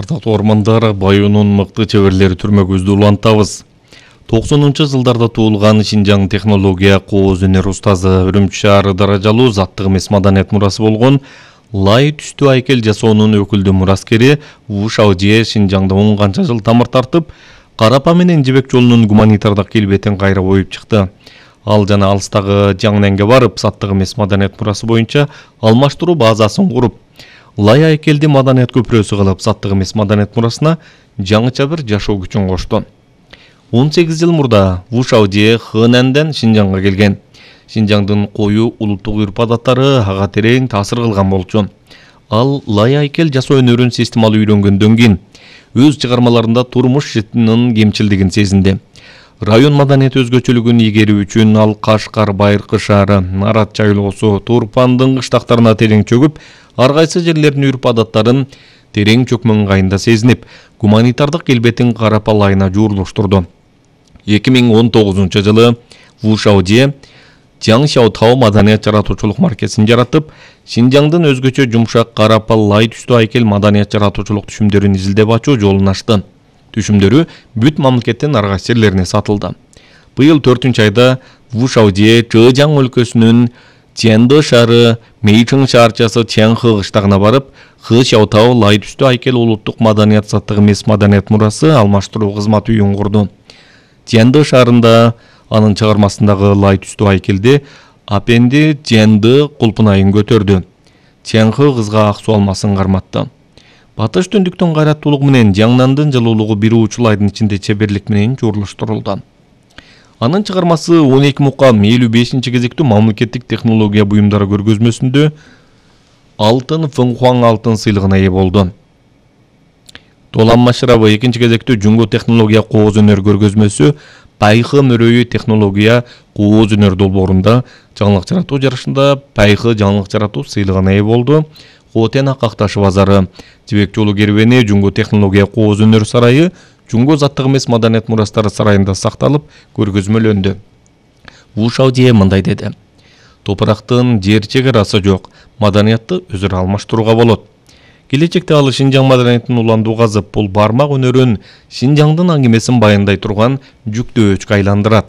Ардактуу ормандар, Баюунун мыкты чеберлери түрмөгүбүздү улантабыз. 90-жылдарда туулган Шинжаң технология кооз өнөр устазы, Үрүмчү шаары даражалуу заттык эмес маданият мурасы болгон лай түстүү айкел жасоонун өкүлдүү мураскери Ву Шаожие Шинжаңда 10 канча жыл тамыр тартып, Карапа менен Жибек жолунун гуманитардык келбетин кайра оюп чыкты. Ал жана алыстагы Жаңненге барып, заттык эмес маданият мурасы боюнча алмаштыруу базасын куруп, лай айкелди маданият көпүрөсү кылып, заттык эмес маданият мурасына жаңыча бир жашоо күчүн кошту. 18 жыл мурда Ву Шаожие Хэнанден Шинжаңга келген. Шинжаңдын коюу улуттук үрп-адаттары ага терең таасир кылган болчу. Ал лай айкел жасоо өнөрүн системалуу үйрөнгөндөн кийин өз чыгармаларында турмуш житинин кемчилдигин сезинди. Район маданият өзгөчөлүгүн игерүү үчүн ал Кашкар, Байыркы шаары, Нарат чайлоосу, Турпандын кыштактарына терең чөгүп, ар кайсы жерлердин үрп-адаттарын терең чөкмө ыңгайында сезинип, гуманитардык келбетин Карапа лайына жуурулуштурду. 2019 жылы Ву Шаожие Жаңшаотау маданият жаратуучулук маркесин жаратып, Шинжаңдын өзгөчө жумшак Карапа лай түстүү айкел маданият жаратуучулук түшүмдөрүн изилдеп ачуу жолун ачты. Түшүмдөрү бүт мамлекеттин ар кайсы жерлерине сатылды. Быйыл 4-айда Ву Шаожие Чжэжяң өлкөсүнүн Чэндэ шаары, Мэйчэн шаарчасы Чэнхэ кыштагына барып, Хэшаотау лай түстүү айкел улуттук маданият заттык эмес маданият мурасы алмаштыруу кызмат үйүн курду. Чэндэ шаарында анын чыгармасындагы лай түстүү айкелди апенди Чэндэ кулпунайын көтөрдү. Чэнхэ кызга ак суу алмасын карматты. Батыш түндүктөн кайраттуулук менен Жаңнандын жылуулугу бир учул айдын ичинде чеберлик менен жуурулуштурулду. Анын чыгармасы 12 мукам 55-кезектүү мамлекеттик технология буюмдары көргөзмөсүндө алтын Фэнхуаң алтын сыйлыгына ээ болду. Толан Машырабы 2-кезектүү Жунго технология кооз өнөр көргөзмөсү Пайхы мөрөйү технология кооз өнөр долбоорунда жаңылык жаратуу жарышында Пайхы жаңылык жаратуу сыйлыгына ээ болду. Хотен Акакташы базары, Жибек жолу кербени, Жунго технология кооз өнөр сарайы, Жунго заттык эмес маданият мурастары сарайында сакталып, көргөзмөлөндү. Ву Шаожие мындай деди: топурактын жер чек-арасы жок, маданиятты өзүрө алмаштырууга болот. Келечекте ал Шинжаң маданиятын уландуу казып, бул бармак өнөрүн Шинжаңдын аңгемесин баяндай турган жүктөөчкө айландырат.